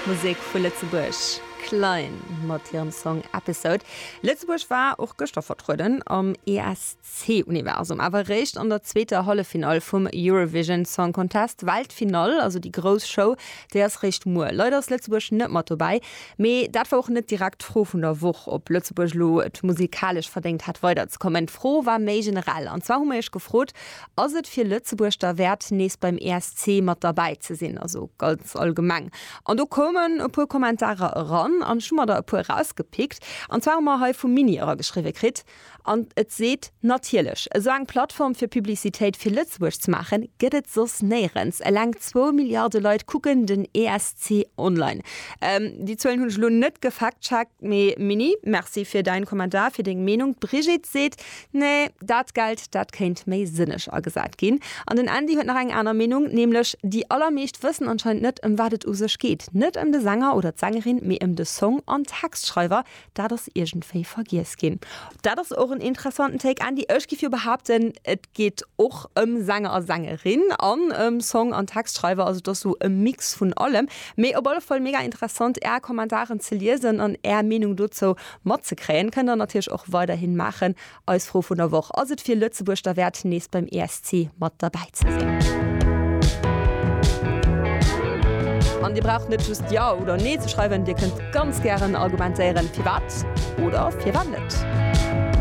Musek vu Lëtzebuerg, Klein mat hirem Song Episode. Lëtzebuerg war och gëschter vertrueden am ESC-Universum, awer eréischt an der zweeter Halleffinall vum Eurovision Song Contest. D'Weltfinall, also déi grouss Show, déi ass réischt muer. Leider ass Lëtzebuerg net mat dobäi. Mee dat war och net direkt d'Fro vun der Woch, ob Lëtzebuerg elo et musikalesch verdéngt hätt weiderzekommen. D'Fro war méi generell. An zwar hu mer iech gefrot, Ass et fir Lëtzebuerg derwäert, nees beim ESC mat derbäi ze sinn? Also ganz allgemeng. An do koumen e puer Kommentarer eran an ech hu mer der e puer erausgepickt. An zwar hu mer hei vum Mini erageschriwwe kritt, An et seet, Natierlech, esou eng Plattform fir Publicitéit fir Lëtzebuerg ze maachen, gëtt et soss néierens. Eleng zwou Milliarde Leit kucken den ESC online. Déi Zuelen hunn ech elo net gefact-checkt, mee Mini, Merci fir däin Kommentar, fir deng Meenung. D'Brigitte seet, Nee, dat Geld, dat kéint méi sënneg agesat ginn. An den Andy huet nach eng aner Meenung, nämlech, Déi allermeescht wëssen anscheinend net, ëm wat et u sech geet. Net ëm de Sänger oder d'Sängerin, mee ëm de Song an Textschreiwer. Dat ass iergendwéi vergiess ginn. Dat ass och en interessanten Take, Andy. Ech giff jo behaapten, et geet och ëm Sänger a Sängerin an ëm Song an Textschreiwer. Also et ass sou e Mix vun allem. Mee op alle Fall mega interessant Är Kommentaren ze liesen an Är Meenung dozou matzekréien. Kënnt der natierlech och weiderhin maachen. Eis Fro vun der Woch, Ass et fir Lëtzebuerg derwäert, nees beim ESC mat derbäi ze sinn? An Dir braucht net just Jo oder Nee ze schreiwen, Dir kënnt ganz gären argumentéieren, firwat oder firwat net.